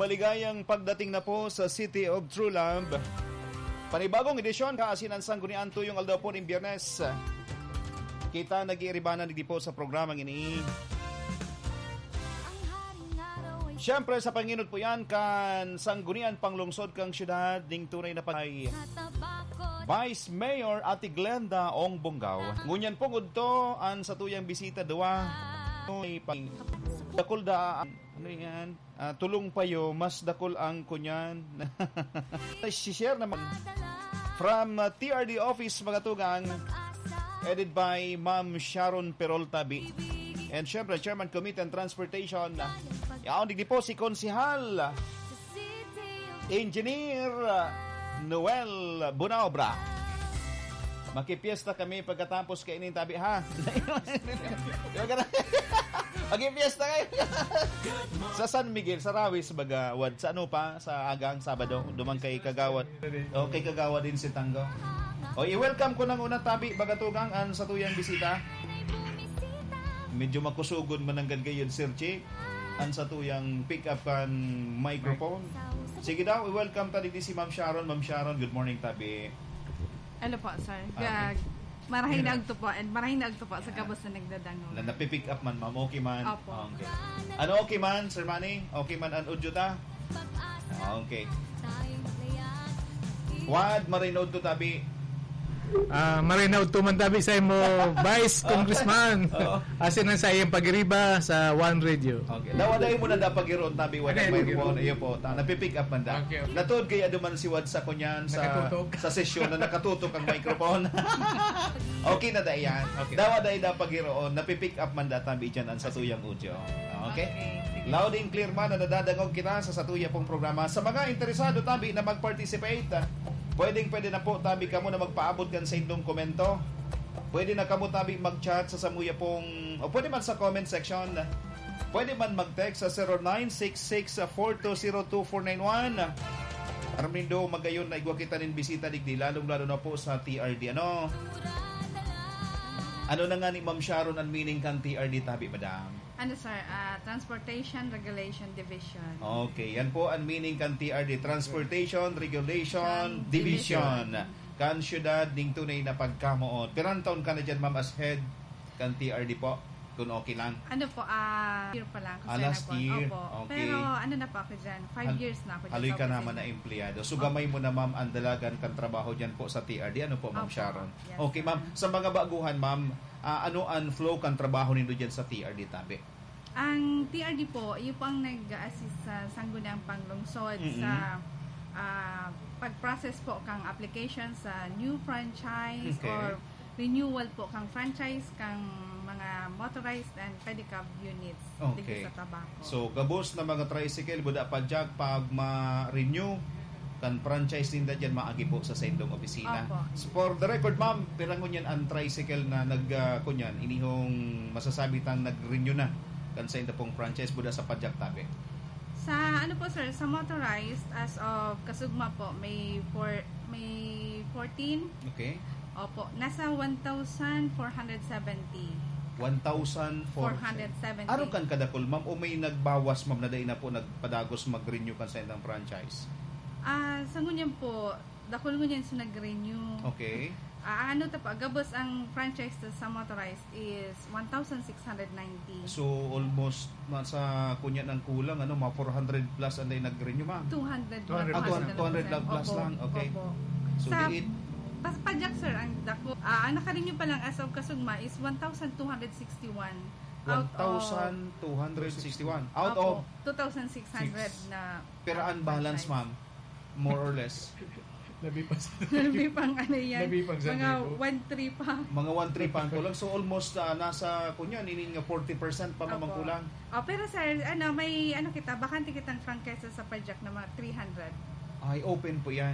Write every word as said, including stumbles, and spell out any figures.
Maligayang pagdating na po sa City of True Love. Panibagong edisyon, kaasinan, Sanggunian, tuyong aldaw po nin Biyernes. Kita nag-iiribanan digdi po sa programang ini. Siyempre, sa panginot po yan, kan Sanggunian Panglungsod kan Syudad, ning tunay na pag-, Vice Mayor Ate Glenda Ong Bonggaw. Ngunyan po ngudto, an satuyang bisita, duwa. May pang-, dakul da, ano yan? Ah, tulong payo, mas dakul ang kunyan. Si-share naman. From, ah, T R D office, mga tugang. Headed by Ma'am Sharon Perol Tabi. And syempre, Chairman Committee on Transportation. Yaon, digdi po si Konsehal Engineer, ah, Noel Bunaobra. Makipiesta kami pagkatapos kaini, Tabi, ha? Di ba ka na? Makipiesta kayo. Sa San Miguel, sa Rawis, baga, wad. Sa ano pa? Sa agang Sabado, duman kay Kagawad. O, kay Kagawad din si Tanggaw. O, i-welcome ko nang una, Tabi, baga tugang, an satuyang bisita. Medyo makusugon man nanggad gayon, Sir Chick, an satuyang pick up kan microphone. Sige daw, i-welcome ta digdi si Ma'am Sharon. Ma'am Sharon, good morning, Tabi. Hello po, sir. Okay. Gag-, marahay na Yan. agto po, and marahay na agto po sa Yan. gabos na nagdadangog. Na, napipick up man, ma'am. Okay man? Opo. Okay. Ano, okay man, Sir Manny? Okay man an audio ta? Okay. Wad, marinaw to, Tabi. Ah, marinaw to man, Tabi, sa imo, Vice Oh. Congressman. Oo. Asin ang sa iyang pagiriba sa One Radio. Okay. Dawa dai mo na da pagiroon, Tabi, wala Ano may yung ruon. Iyo po, ta, napipick up man da. Okay, okay. Natuod kaya duman si Wad sa kunyan sa, Nakatutok. sa sesyon na nakatutok ang microphone. Okay na da yan. Okay. Dawa dai da pagiroon, napipick up man da, Tabi, dyan ang satuyang audio. Okay? Okay, sige. Loud and clear man na nadadangog kita sa satuya pong programa. Sa mga interesado, Tabi, na mag-participate, ah, pwedeng-pwede na po, Tabi, kamo na magpaabot kan sa indong komento. Pwede na kamo, Tabi, mag-chat sa samuya pong, o pwede man sa comment section. Pwede man mag-text sa zero nine six six four two zero two four nine one. Armindo, magayon na igwa kita nin bisita digdi, lalong-lalo na po sa T R D, ano? Ano na nga ni Ma'am Sharon ang meaning kan T R D, Tabi, madam? Ano, sir? Ah, Transportation Regulation Division. Okay, yan po ang meaning kan T R D, Transportation Regulation Division. Division. Kan syudad ning tunay na pagkamoot. Pirang taon ka na dyan, ma'am, as head kan T R D po? Kung okay lang. Ano po, ah, year pa lang, Ah, kasi last na po. year. Opo. Okay. Pero ano na po ako dyan, five Hal-, years na ako dyan haloy sa ka naman opisina. na empleyado. So, Opo. gamay mo na, ma'am, ang dalagan kan trabaho dyan po sa T R D. Ano po, Ma'am Opo. Sharon? Yes, Okay, ma'am. sir. Sa mga baguhan, ma'am, ah, ano ang flow kan trabaho nindo dyan sa T R D, Tabi? Ang T R D po, iyo po ang nag-a-assist sa Sangguniang Panglungsod Mm-mm. sa, ah, pag-process po kang application sa new franchise Okay. or renewal po kang franchise kang mga motorized and pedicab units Okay. digdi sa Tabaco. So, gabos na mga tricycle, buda pa, Jack, pag ma-renew kan franchise ninda dyan, maagi po sa saindong opisina. Opo. So, for the record, ma'am, pira ngunyan ang tricycle na nag, ah, kunyan, inihong masasabi tang nag-renew na kan sainda pong franchise, buda sa Padjak, Tabi? Sa ano po, sir, sa motorized, as of kasugma po, may four, may fourteen. Okay. Opo, nasa one thousand four hundred seventy. One thousand four hundred. Four hundred seventy. Arog kan kadakul, ma'am, o may nagbawas, ma'am, na dai na po nagpadagos mag-renew kan saindang franchise? Ah, sa ngunyan po, dakul ngunyan sa nag-renew. Okay. Ah, ano ta pa, gabos ang franchise ta sa motorized is one thousand six hundred ninety. So, almost nasa kunyan ang kulang, ano, mga four hundred plus ang dai nag-renew, ma'am? Two hundred. Two hundred Ah, plus two hundred lang. Opo, plus lang. Okay. Opo. So, Sa, di it- pas-, Padjak, sir, ang dako. Ah, ang naka-renew pa lang as of kasugma is one thousand two hundred sixty-one. Out of One thousand two hundred sixty-one. Out Opo, of two thousand six hundred Six. na Pero ang balance, franchise. ma'am, more or less? Labi pa sa Labi pang ano yan. Labi pang Mga San Diego. one three pa. Mga one three pa ang kulang. So, almost, ah, nasa, kunyan, inin nga forty percent pa, ma'am, ang Opo. kulang. Oh, pero sir, ano, may, ano kita, bakante kitang franchise sa Padjak na mga three hundred. Ay, open po yan.